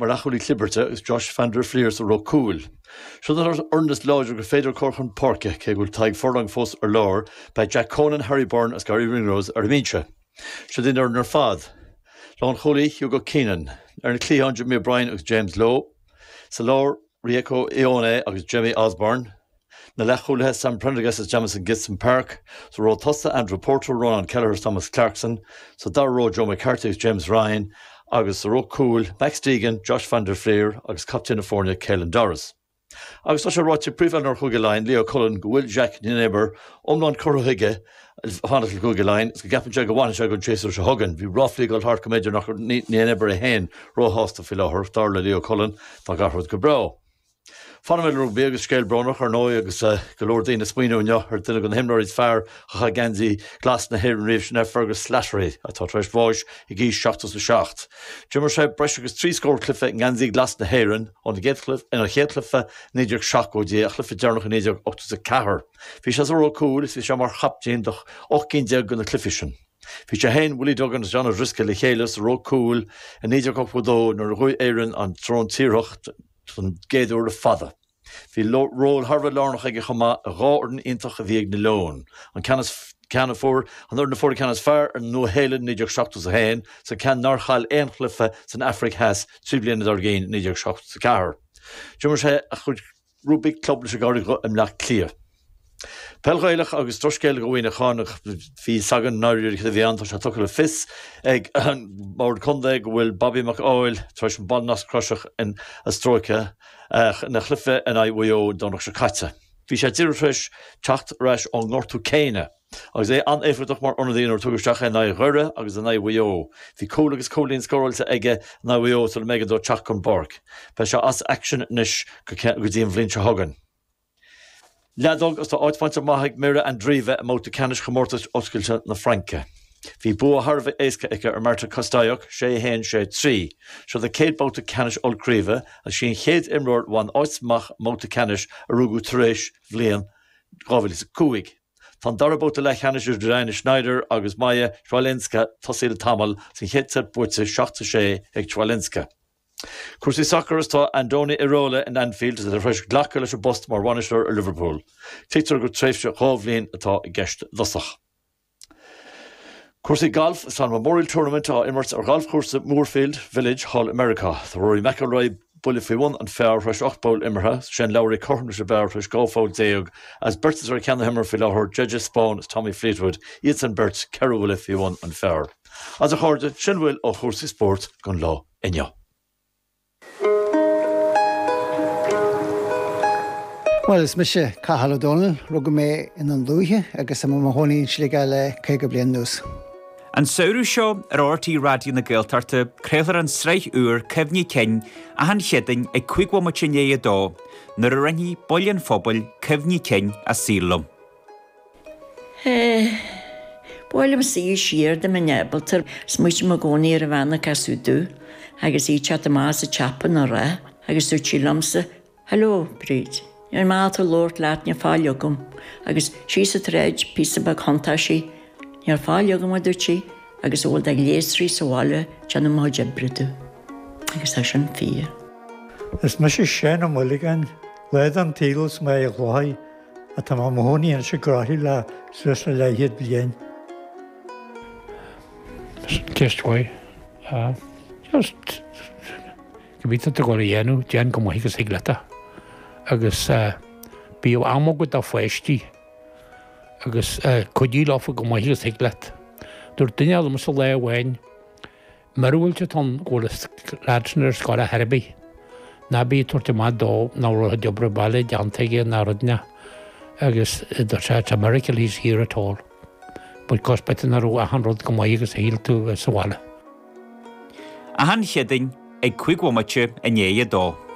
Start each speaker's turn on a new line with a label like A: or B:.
A: Clarke mar leathchúlaí clibirte agus Josh van der Flier sa ruc cúil. Seo an fhoireann is láidre gur féidir a chur chun páirce, cé go bhfuil Tadhg Furlong fós ar lár, beidh Jack Conan, Harry Byrne agus Garry Ringrose ar an mbinse. Seo an fhoireann ar fad. Lánchúlaí, Hugo Keenan. Ar na cliatháin, Jimmy O'Brien agus James Lowe. Sa lár, Rieko Ioane agus Jamie Osborne. Na leathchúlaithe, Sam Prendergast is Jamison Gibson-Park. Sa ró tosaigh, Andrew Porter, Ronan Kelleher is Thomas Clarkson. Sa dara ró, Joe McCarthy agus James Ryan. Agus sa ruc cúil, Max Deegan, Josh van der Flier agus captaen na foirne, Caelan Doris. Agus tá sé ráite ag Príomh-Oiliúnóir Chúige Laighean, Leo Cullen, go bhfuil Jacques Nienaber iomlán curtha chuige fanacht le Cúige Laighean agus go gceapann sé go bhfanfaidh sé don séasúr seo chugainn. Bhí ráflaí ag dul thart go mb'fhéidir nach raibh Nienaber é féin róshásta faoi láthair, dar le Leo Cullen, tá gach rud go breá. Fanfaidh mé le rugbaí agus scéal brónach, ar ndóigh, agus go leor daoine ag smaoineamh inniu ar duine de na himreoirí is fearr a chaith geansaí glas na hÉireann riamh, sin é Fergus Slattery, atá tar éis bháis ag aois 77. D'imir sé breis agus 3 scór cluiche i ngeansaí glas na hÉireann óna chéad chluiche i 1970 go dtí a chluiche deireanach i 1984. Bhí sé sa ró cúil is bhí sé mar chaptaen do 18 cinn de na cluichí sin. Bhí sé féin, Willie Duggan agus John O'Driscoll le chéile sa ró cúil i 1982 nuair a bhuaigh Éirinn an tsrón tíorthach don gcéad uair le fada. Bhí ról thar a bheith lárnach aige chomh maith i dhá fhoireann iontach a bhí ag na Leoin, an ceann is ceann a fuair an fhoireann a fuair an ceann is fearr ar an Nua-Shéalainn i 1971 is an ceann nár chaill aon chluiche san Afraic Theas 3 bliana dár gcionn i 1974. D'imir sé a chuid rugbaí club leis an gCarraig Dhubh i mBleá Cliath. Peil Ghaelach agus drochscéal do Mhuineachán ach bhí fhios againn i ndáiríre cad a bhí ann. Tá sé tugtha le fios ag an mBord Contae go bhfuil Bobby Mac Áil tar éis an ballnasc croiseach a stróiceadh ina chluiche in aghaidh Mhaigh Eo an Domhnach seo caite. Bhí sé díreach tar éis teacht ar ais ón ngortú céanna agus é an-éifeachtach mar ionadaí nuair a tugadh isteach é in aghaidh Dhoire agus in aghaidh Mhaigh Eo. Bhí cúl agus cúilín scóráilte aige in aghaidh Mhaigh Eo sula mb'éigean dó teacht den bpáirc. Beidh sé as aicsean anois go dtí an bhliain seo chugainn. Leadóg agus tá áit bainte amach ag Mirra Andreeva i mbabhta ceannais Chomórtas Oscailte na Fraince. Bhí bua thar a bheith éasca aici ar Marta Kostyuk, 6, 1, 6, 3. Seo di céad babhta ceannais ollchraoibhe agus sí an chéad imreoir a bhain áit amach i mbabhta ceannais a rugadh tar éis bhliain 2005. Tá an dara babhta leathcheannais idir Diana Shnaider agus Maja Chwalinska tosaithe le tamall agus an chéad seit buaite 7, 6 ag Chwalinska. Cúrsaí sacair Is tá Andoni Iraola in Anfield tar éis glacadh leis an bpost mar bhainisteoir ar Liverpool. Tuigtear gur tréimhse 2 bhliain atá i gceist i dtosach. Cúrsaí gailf Is tá an Memorial Tournament á imirt ar ghalfchúrsa Muirfield Village thall i Meiriceá. Tá Rory McIlroy buille faoi bhun an phar tar éis 8 bpoll imeartha, Shane Lowry cothrom leis an bpar tar éis 12 pholl agus beirt atá ar cheann na himeartha faoi láthair, JJ Spaun is Tommy Fleetwood, iadsan beirt 4 bhuille faoi bhun an phar. Agus a chairde, sin a bhfuil ó chúrsaí spóirt don lá inniu.
B: Bhuel, is mise Cathal Ó Dónaill, rugadh mé i nDún Lúiche agus tá mé i mo chónaí in Sligeach le 50 bliain anuas.
C: An samhradh seo ar RTÉ Raidió na Gaeltachta, craolfar an tsraith úr Cuimhní Cinn achan Chéadaoin ag 5 bhomaite i ndiaidh a dó, nuair a roinnfidh baill an phobail cuimhní cinn a saoil leo.
D: Ba mhaith liom suí siar dá mbeinn ábalta. Smaoitím i gcónaí ar an bhean a casadh domh agus í ag teacht amach as an tsiopa ina roth agus dúirt sí liomsa, Hello, Bríd. Níl mé ábalta labhairt leat, níl faill agam. Agus síos an tsráid, píosa beag thiontaigh sí. Níl faill agam, a dúirt sí, agus a bhfuil de ghléasraí sa bhaile, déanfaidh mo chuid oibre domh. Agus tá sin fíor.
E: Is mise Seán Ó Maolagáin, lá den tsaol as Machaire Chlochair Tá mé i mo chónaí anois i gCroithlí le suas le leathchéad bliain.
F: Ceist mhaith. Just cibé atá tú ag dul a dhéanamh, déan go maith agus thig leat é. Agus bíodh am agat do pháistí agus cuidigh leofa go maith agus thig leat. Dúirt duine liomsa lá amháin, Mura bhfuil tú ann go bhfuil an leaid sin ar scoil ar chor ar bith, ná bí ag tabhairt amach dó nach raibh a chuid oibre baile déanta aige ná rud ná agus dúirt sé it's a miracle he's here at all because b'fhéidir nach raibh achan rud go maith agus a shíl tú sa bhaile.
C: Achan Chéadaoin ag 5 bhomaite i ndiaidh a 2.